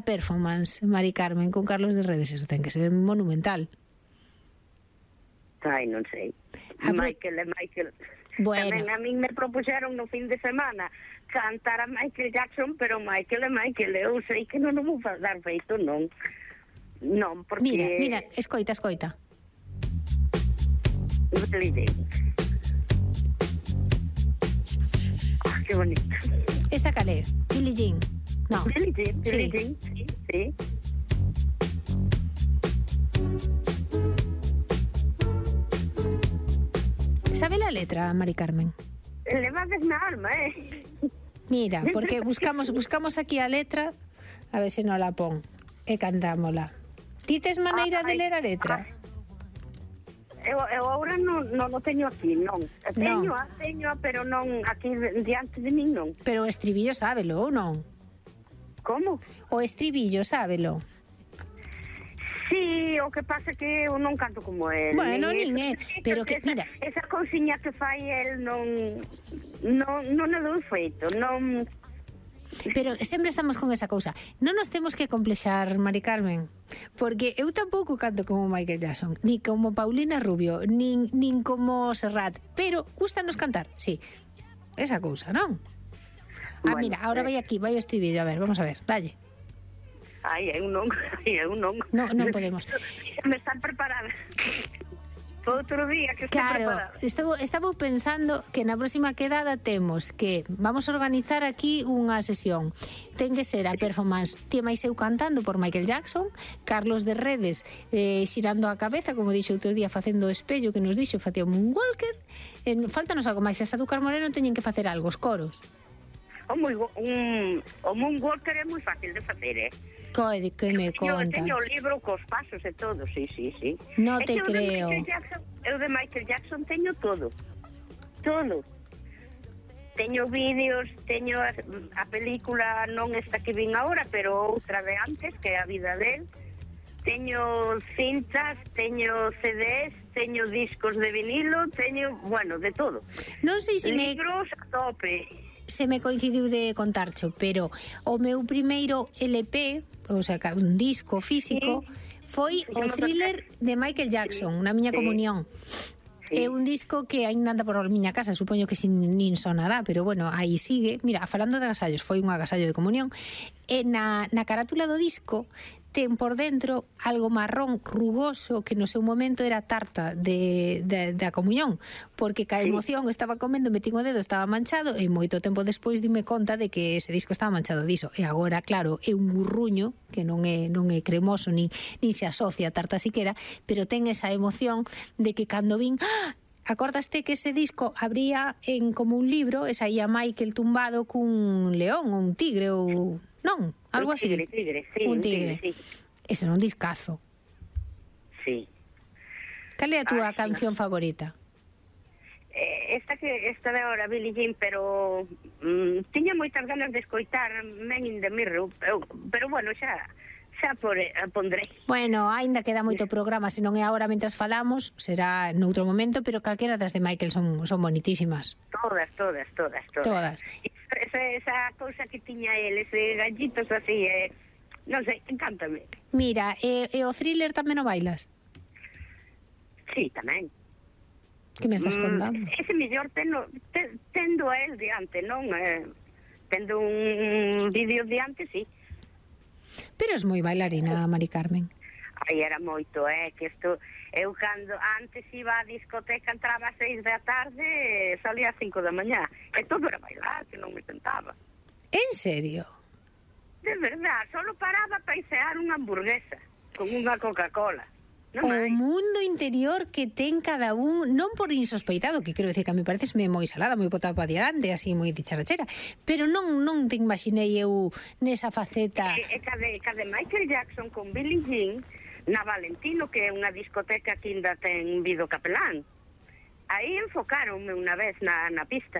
performance, Mari Carmen, con Carlos de Redes, eso ten que ser monumental. Ai, non sei. Michael. Bueno. Tamén a min me propuxeron no fin de semana cantar a Michael Jackson, pero Michael, eu sei que non vou dar feito, non. Non, porque... Mira, escoita. Que bonito. Esta calé, Billie Jean. No. Billie Jean, sí. ¿Sabe la letra, Mari Carmen? Le va a na alma, Mira, porque buscamos aquí a letra, a ver se non la pon, e cantámola. Ti tes maneira de ler a letra? Eu agora non o teño aquí, non. Teño, pero non aquí diante de min, non. Pero o estribillo sábelo, ou non? Como? O estribillo sábelo. Sí, o que pasa que eu non canto como el. Bueno, nin é, pero que, mira... Esa cousiña que fai el non o dou feito, non... Pero sempre estamos con esa cousa. Non nos temos que complexar, Mari Carmen, porque eu tampouco canto como Michael Jackson, ni como Paulina Rubio, nin como Serrat, pero gustanos cantar, sí. Esa cousa, non? Bueno, mira, ahora vai aquí, vai o estribillo, a ver, vamos a ver, dalle. Ai, eu non. Non podemos. Me están preparadas. Outro día que estou preparada. Estaba pensando que na próxima quedada temos que vamos a organizar aquí unha sesión. Ten que ser a performance Ti máis eu cantando por Michael Jackson, Carlos de Redes xirando a cabeza, como dixo outro día, facendo o espello que nos dixo, facía un moonwalker. Faltanos algo máis, esa Dúcar Moreno teñen que facer algo, os coros. O moonwalker é moi fácil de facer, Coide, que me contas? Eu teño o libro cos pasos e todo, sí. No te creo. Eu de Michael Jackson teño todo. Teño vídeos, teño a película, non esta que vin agora, pero outra de antes, que é a vida del. Teño cintas, teño CDs, teño discos de vinilo, teño, bueno, de todo. Non sei se libros a tope. Se me coincidiu de contarcho, pero o meu primeiro LP, o sea, un disco físico, foi o Thriller de Michael Jackson, na miña comunión. É un disco que aínda anda por a miña casa, supoño que nin sonará, pero bueno, aí sigue. Mira, falando de agasallos, foi un agasallo de comunión. E na carátula do disco ten por dentro algo marrón rugoso que no seu momento era tarta da comunión, porque ca emoción estaba comendo, metín o dedo, estaba manchado, e moito tempo despois dime conta de que ese disco estaba manchado diso. E agora, claro, é un burruño que non é cremoso, nin se asocia a tarta siquera, pero ten esa emoción de que cando vin... Acordaste que ese disco abría en como un libro, e saía Michael tumbado cun león ou un tigre ou... Non, algo así. Un tigre. Sí. Ese é un discazo. Sí. Cal é a túa canción favorita? Esta de ahora, Billie Jean, pero tiña moitas ganas de escoitar Men in the Mirror, pero bueno, xa pondrei. Bueno, aínda queda moito programa, se non é agora mentras falamos, será noutro momento, pero calquera das de Michael son bonitísimas. Todas. Esa cousa que tiña el, ese gallitos así, non sei, encántame. Mira, e o Thriller tamén o bailas? Sí, tamén. Que me estás contando? Ese mellor tendo a el diante, non? Tendo un vídeo diante, sí. Pero es moi bailarina, Mari Carmen. Ai, era moito, que isto... Eu cando antes iba á discoteca, entraba a 6 da tarde, salía a 5 da mañá. E todo era bailar, que non me sentaba. En serio? De verdad, solo paraba para icear unha hamburguesa con unha Coca-Cola. O mundo interior que ten cada un, non por insospeitado, que quero decir que a mí parecesme moi salada, moi botada para diante, así moi dicharachera, pero non te imaginei eu nesa faceta. Cade Michael Jackson con Billie Jean na Valentino, que é unha discoteca que ainda ten Vido Capelán. Aí enfocáronme unha vez na pista.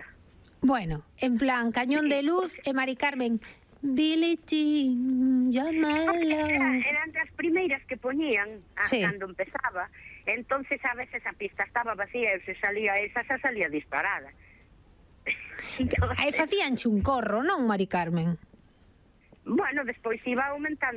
Bueno, en plan, cañón de luz e Mari Carmen, Billie Jean, llámala. Eran das primeiras que poñían cando empezaba. Entonces a veces a pista estaba vacía e se salía esa, xa salía disparada. Aí facíanche un corro, non, Mari Carmen? Bueno, despois iba aumentando